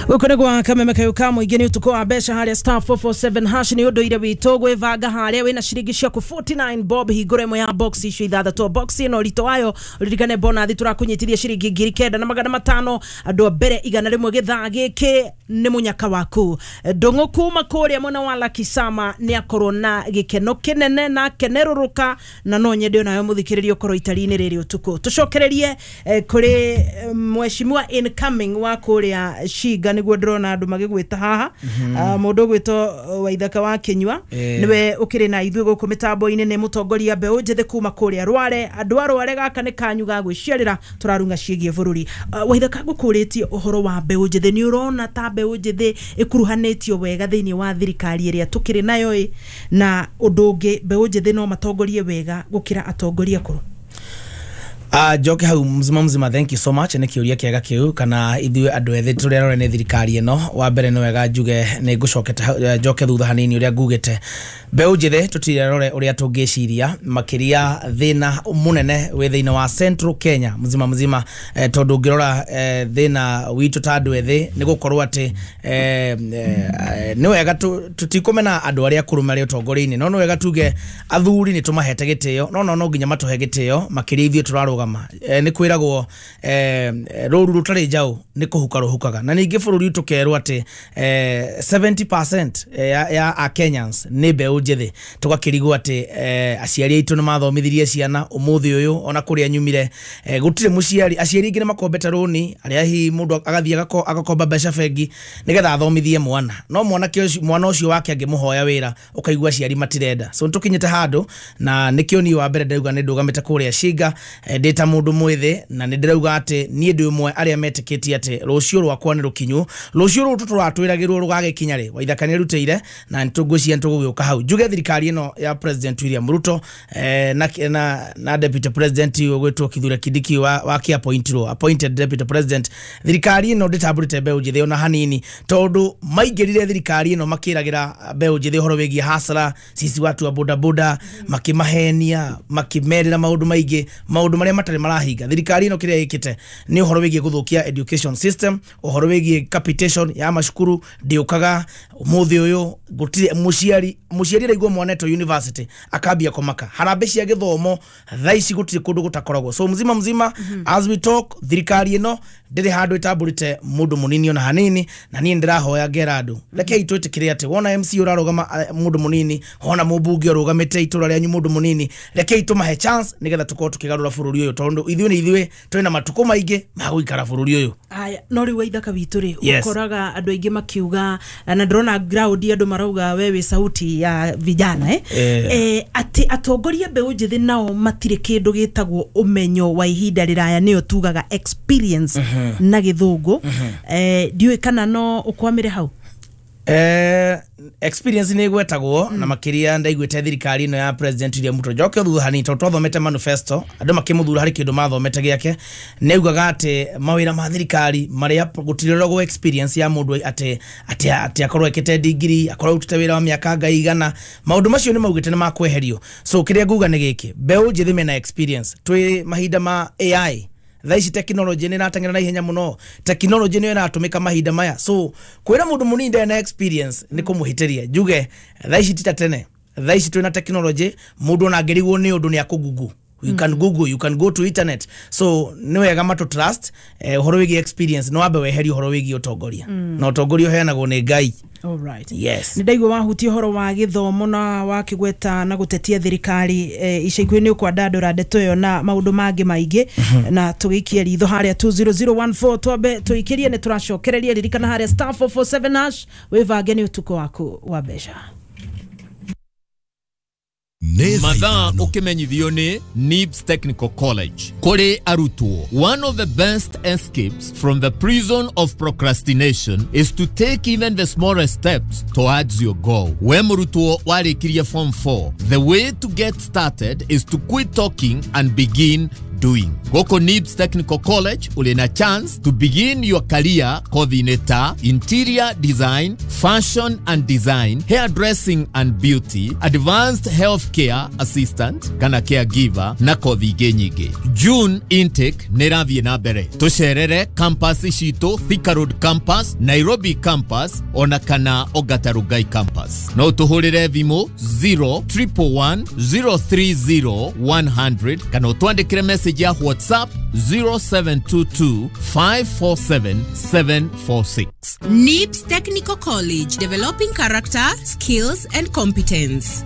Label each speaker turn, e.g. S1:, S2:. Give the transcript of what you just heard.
S1: Gũkũ nĩ gwa kameme kayũ ka mũingĩ, nĩ ũtukũ wa mbeca harĩa *447#. Nĩ ũndũire witũ gwĩbanga harĩa wĩna ciringi ciaku 49 bob, hingũra ĩmwe ya box icio ithathatũ. Box ĩno ũritũ wayo, ũririkane bonathi tũrakũnyitithia ciringi 9500, andũ a mbere 100 gĩthaa gĩkĩ nĩ mũnyaka waku. Ndũng'ũ kuma kũrĩa mwena wa Lakisama nĩ akorwo na gĩkeno kĩnene na akenerũrũka, na no nyende onawe mũthikĩrĩria ũkorwo itari-inĩ rĩrĩ ũtukũ. Tũcokererie kũrĩ mheshimiwa incoming wa kũrĩa Shinga, nĩguo ndĩrona andũ magĩgwĩta haha. Ah, mũndũ ũgwĩtwo Waithaka wa Kĩnyua nĩwe ũkĩrĩ na ithuĩ gũkũ mĩtambo-inĩ, nĩ mũtongoria mbeũ njĩthĩ kuma kũrĩa Rware. Andũ a Rware, gaka nĩ kanyu ga gwĩciarĩra, tũrarunga ciĩgiĩ bũrũri. Ah, Waithaka, ngũkũrĩtie ũhoro wa mbeũ njĩthĩ, nĩ ũrona ta mbeũ njĩthĩ ĩkuruhanĩtio wega thĩinĩ wa thirikari ĩrĩa tũkĩrĩ nayo ĩ? Na ũndũ ũngĩ, mbeũ njĩthĩ no matongorie wega gũkĩra atongoria akũrũ?
S2: Njoke hau mzima mzima, thank you so much, nĩ kĩũria kĩega kĩu. Kana ithuĩ andũ ethĩ tũrĩa rore nĩ thirikari ĩno, wa mbere nĩ wega njuge nĩ ngũcokete njoke thutha hanini ũrĩa ngugĩte, mbeũ njĩthĩ tũtirĩ rore ũrĩa tũngĩciria, makĩria thĩna mũnene wĩ thĩinĩ wa Central Kenya mzima mzima, tondũ ũngĩrora thĩna witũ ta andũ ethĩ nĩ gũkorwo atĩ nĩ wega tũtikũmena andũ arĩa akũrũ marĩ ũtongoria-inĩ, no nĩ wega tuge athuri nĩ tũmahete gĩtĩo, no nginya matũhe gĩtĩo, makĩria ithuĩ tũrarũgama. Nĩ kwĩragwo rũru rũtarĩ njaũ nĩ kũhuka rũhukaga, na ningĩ bũrũri tũkerwo atĩ 70% ya a Kenyans nĩ mbeũ njĩthĩ. Tũgakĩrigwo atĩ aciari aitũ nĩ mathomithirie ciana ũmũthĩ ũyũ ona kũrĩa nyumire gũtirĩ mũciari, aciari aingĩ nĩ makombete rũni, arĩa hihi mũndũ agathiĩ agakomba mbeca bengi nĩgetha athomithie mwana, no mwanake ũcio, mwana ũcio wake angĩmũhoya wĩra ũkaigua aciari matirenda. So nĩtũkinyĩte handũ na nĩkĩo niĩ wa mbere ndĩrauga nĩ ndũgamĩte kũrĩa Shinga ndĩ ta mũndũ mwĩthĩ, na nĩ ndĩrauga atĩ niĩ ndĩ ũmwe arĩa metĩkĩtie atĩ rũciũ rwakwa nĩ rũkinyu. Rũciũ rũrũ tũtũratwĩragĩrwo rũgagĩkinya rĩ, Waithaka nĩ arutĩire na nĩtũngwĩciria nĩtũgũgĩũka hau. Njuge thirikari ĩno ya President William Ruto na Deputy President ũgwĩtwo Kithure Kindiki wa kĩ appointed Deputy President, thirikari ĩno ndĩtambũrĩte mbeũ njĩthĩ ona hanini, tondũ maingĩrire thirikari ĩno makĩragĩra mbeũ njĩthĩ ũhoro wĩgiĩ hasara, sisi watu wa bodaboda, makĩmahenia, makĩmerĩra maũndũ maingĩ, maũndũ marĩa matarĩ marahinga. Thirikari ĩno kĩrĩa ĩkĩte nĩ ũhoro wĩgiĩ gũthũkia education system, ũhoro wĩgiĩ capitation ya macukuru ndĩũkaga. Ũmũthĩ ũyũ gũtirĩ mũciari araigua mwana etwo university akambia kũmaka. Harambĩ cia gĩthomo thaa ici gũtirĩ kũndũ gũtakoragwo. So mzima mzima, as we talk, thirikari ĩno ndĩrĩ handũ ĩtambũrĩte mũndũ mũnini ona hanini, na niĩ ndĩrahoya ngera andũ, rekei twĩtĩkĩre atĩ wona MC ũrarũgama mũndũ mũnini, wona mũmbunge ũrũgamĩte itũra rĩanyu mũndũ mũnini, rekei tũmahe chance nĩgetha tũkorwo tũkĩgarũra bũrũri ũyũ, tondũ ithuĩ nĩ ithuĩ twĩna matukũ maingĩ ma gũikara bũrũri ũyũ.
S1: Aya, no rĩu Waithaka witũ rĩ,
S2: Yes.
S1: ũkoraga andũ aingĩ makiuga, na ndĩrona ground andũ marauga we wĩ sauti ya vijana, eh? Atĩ atongoria mbeũ njĩthĩ nao matirĩ kĩndũ gĩtagwo ũmenyo wa ihinda rĩraya, nĩyo tugaga experience na gĩthũngũ. Ndiũĩ kana no ũkwamĩre hau.
S2: Experience nĩ ĩgwetagwo na makĩria ndaiguĩte thirikari ĩno ya President William Ruto, njoke thutha hanini tondũ twathomete manifesto, andũ makĩmũthura harĩ kĩndũ mathomete gĩake, nĩ augaga atĩ mawĩra ma thirikari marĩa gũtirĩrogwo experience ya mũndũ atĩ akorwo ekĩte degree, akorwo arutĩte wĩra wa mĩaka ngai igana, maũndũ macio nĩ maugĩte nĩ makweherio. So kĩrĩa nguga nĩ gĩkĩ, mbeũ njĩthĩ mena experience. Twĩ mahinda ma AI thaa ici, technology nĩ ĩrateng'era na ihenya mũno, technology nĩyo ĩratũmĩka mahinda maya, so kwĩra mũndũ mũnini ndarĩ na experience nĩ kũmũhĩtĩria. Njuge thaa ici ti ta tene, thaa ici twĩna technology, mũndũ ona angĩrigwo nĩ ũndũ nĩ akũgugu, you can google, you can go to internet. So nĩ wega matũ trust ũhoro wĩgiĩ experience no wambe weherie ũhoro wĩgiĩ ũtongoria, na ũtongoria ũheanagwo nĩ Ngai.
S1: Alright.
S2: Yes.
S1: Nĩ ndaigua wahutia ũhoro wa gĩthomo na wakĩgweta na gũtetia thirikari ica ikuhĩ nĩ ũkwandandũra ndeto ĩyo na maũndũ mangĩ maingĩ, na tũgĩikie ritho harĩa 20014, twambe tũikĩrie, nĩ tũracokereria. Ririkana harĩa *447# wĩvange, nĩ ũtukũ waku wa mbeca.
S3: Nĩ thaa
S4: Mathaa
S3: 5.
S4: Ũkĩmenyithio nĩ NIBS Technical College kũrĩ arutwo. One of the best escapes from the prison of procrastination is to take even the smallest steps towards your goal. We mũrutwo warĩkirie form 4, the way to get started is to quit talking and begin doing. Gũkũ NIBS Technical College ũrĩ na chance to begin your career kothi-inĩ ta interior design, fashion and design, hairdressing and beauty, advanced healthcare assistant kana caregiver na kothi ingĩ nyingĩ. June intake nĩ ĩrathiĩ na mbere. Tũcerere campus citũ, Thika Road campus, Nairobi campus ona kana Ongata Rongai campus. No tũhũrĩre thimũ 0 111 030 100 kana ũtwandĩkĩre message ya WhatsApp 0722 547 746.
S3: NIBS Technical College, developing character, skills, and competence.